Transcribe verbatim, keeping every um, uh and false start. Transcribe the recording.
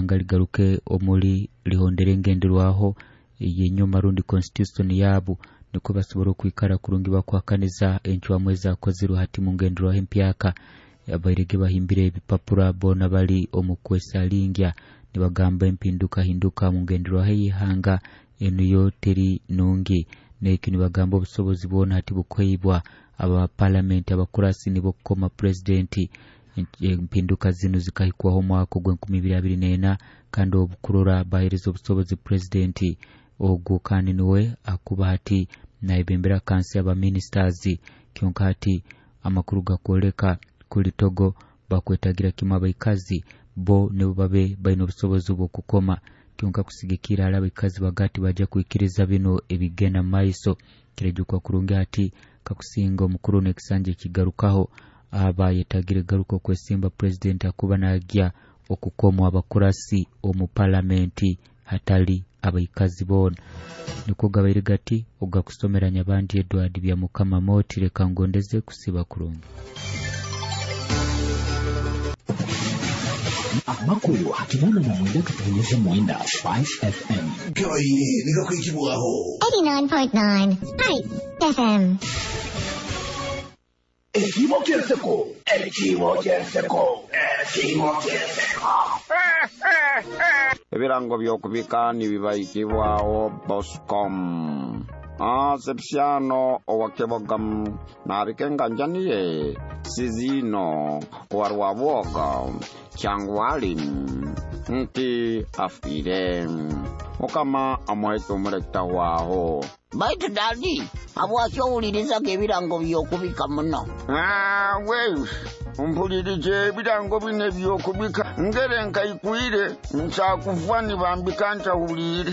Ihanga ligaruke omuli lihondere engenderwaho yenyuma rundi constitution yabu, nikwo basobora okwikara kurungi bakuhakaniza encwamu ezakozirwe hati mu ngenderwaho empyaka. Abairege bahimbire ebipapura boona bali omu kwesalingya nibagamba empinduka hinduka mu ngenderwaho ey'ihanga enu yo teri nungi. Nekyo nibagamba obusobozi bwona hati bukuheibwa aba palamenti abakurasi nibo kukoma purezidenti. Empinduka zinu zikahikwaho omwaka ogw'enkumi ibiri abiri n'ena, kandi obukurora bahereza obusobozi purezidenti ogwo, kandi niwe akuba hati nayebembera kansi aba ministers. Kyonka hati amakuru gakwoleka kuli Togo bakwetagira kimu abaikazi bo nibo babe baine obusobozi bw'okukoma. Kyonka kusigikira hali abaikazi bagati bajja kwikiriza bino ebigenda maiso. Kirejukwa kurungi hati kakusinga omukuru n'ekisanja ekigarukaho aba yetagire garuka okwesimba purezidenti akuba nagya okukomwa abakurasi omu palamenti hatali abaikazi boona. Nikwo gabaire gati ogakusomera Nyabandi Edward bya Mukama Moti. Leka ngondeze kusiba kurungi. Amakuru hakinana na mwenda katonyeza mwenda Spice F M. Gabaire nigakwikibwaho eighty-nine point nine Spice F M. Ekimo kyenseko, ekimo kyenseko, ekimo kyenseko. Ebirango by'okubika nibibayikibwaho Boscom. Ah, Sepsiano owakebogam nabikenganjaniye Sizino owarwabwoga Kyangwali nti afire Mukama amuheke omurekita waho. Baitu dadi, habwaki owulirizaga ebirango by'okubika muno? Ah, we mpulirije ebirango bino eby'okubika ngere nkaikwire nkyakuvwa nibambika ntawulire.